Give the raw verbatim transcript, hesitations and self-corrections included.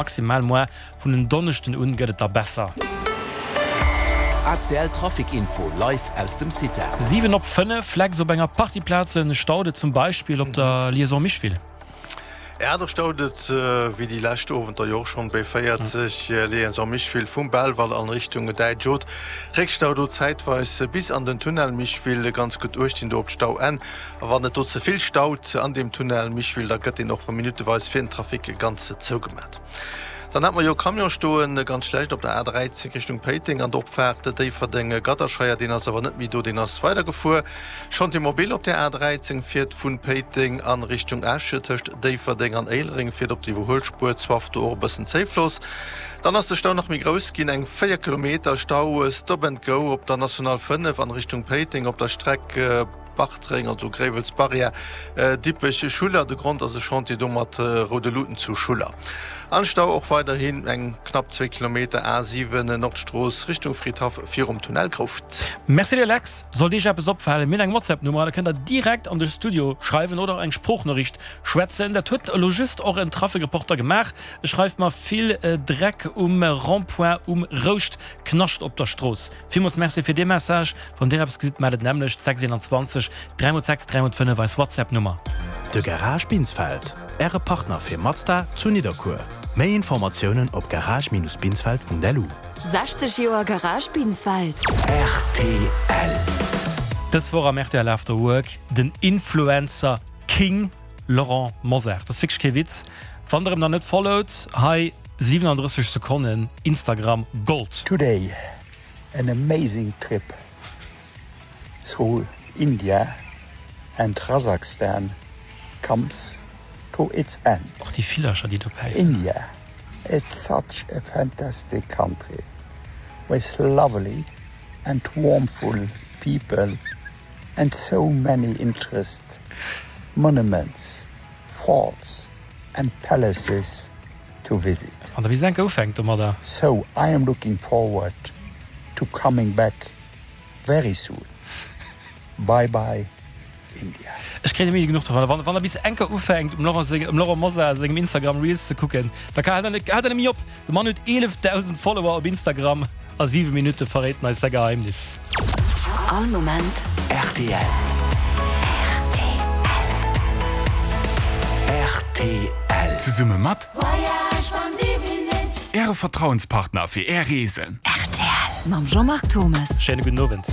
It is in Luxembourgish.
Maximal moi vun en Donneschden un gëtt et da besser. A C L Trafic Info live aus dem CITA. Siwen op fënnef, Flex op enger Partie Plazen staut et, zum Beispill op der Liaison Micheville. Ja, do staut et wéi déi lescht Owenter jo och schonn, B véierzeg Liaison Micheville vum Belval an Richtung Däitsch Haute. Réckstau do zäitweis bis an den Tunnel Micheville. Ganz gutt uecht dinn do op d'Stauenn. A wann et do ze vill staut an deem Tunnel Micheville, da gëtt deen och minutteweis fir den Trafic ganz zougemat. Dann hat mer jo Camion stoen, ganz schlecht op der A dräizéng Richtung Péiteng an der Opfaart Déifferdeng-Gadderscheier. Deen ass awer net méi do, deen ass weidergefuer. Chantier mobile op der A dräizéng fiert vun Péiteng a Richtung Esch, tëscht Déifferdeng an Éilereng fiert op der Iwwerhuelspuer Zwaff do och e bëssen Zéifloss. Dann ass de Stau nach méi grouss ginn, eng véier Kilometer Stau Stop and Go op der National fënnef an Richtung Péiteng op der Streck Bartreng, also Gréiwels Barrière, Dippech, Schuller. De Grond ass e Chantier do mat roude Luuten zu Schuller. An Stau och weiderhin eng knapp zwee Kilometer A siwen Nordstrooss Richtung Fridhaff virum Tunnel Grouft. Merci dir Lex. Sollt iech eppes opfalen, mir hunn eng WhatsApp Nummer, da kënnt der direkt an de Studio schreiwen oder och eng Sproochnoriicht schwätzen. Dat huet elo just och en Trafikreporter gemaach. E schreift mer, Vill Dreck um Rond-point um Rouscht, Knascht op der Strooss. Villmools Merci fir dee Message. Wann dir eppes gesitt, mellt et nämmlecht, sechs eenanzwanzeg dräi mol sechs dräi mol fënnef, eis WhatsApp Nummer. De Garage Binsfeld, Äre Partner fir Mazda zu Nidderkuer. Méi Informatiounen op garage-binsfeld punkt lu. sechzeg Joer Garage Binsfeld. R T L. Dës Woch am R T L After Work den Influencer King Laurent Mosar. Dat ass wierklech kee Witz. Wann der em nach net followt, hei siwenandrësseg Sekonnen Instagram Gold. Today, an amazing trip through India and Kazakhstan comes to its end. Och déi Villercher, déi do päifen. India, it's such a fantastic country with lovely and warmful people and so many interest monuments, forts and palaces to visit. Wann der wéi senke ufänkt domadder. So I am looking forward to coming back very soon. Bye bye India. Ech kréien net méi genuch dovunner. Wann wann der bis enker ufänkt um Laurent seng um Laurent Mosar sengem Instagram Reels ze kucken, da ka hält der net hält der net méi op. De Mann huet eelefdausend Follower op Instagram a siwe Minutte verréit en eis säi Geheimnis. All Moment. R T L. R T L. Zesumme mat Äre Vertrauenspartner fir Är Reesen. R T L mam Jean-Marc Thomas. Schéine gudden Owend.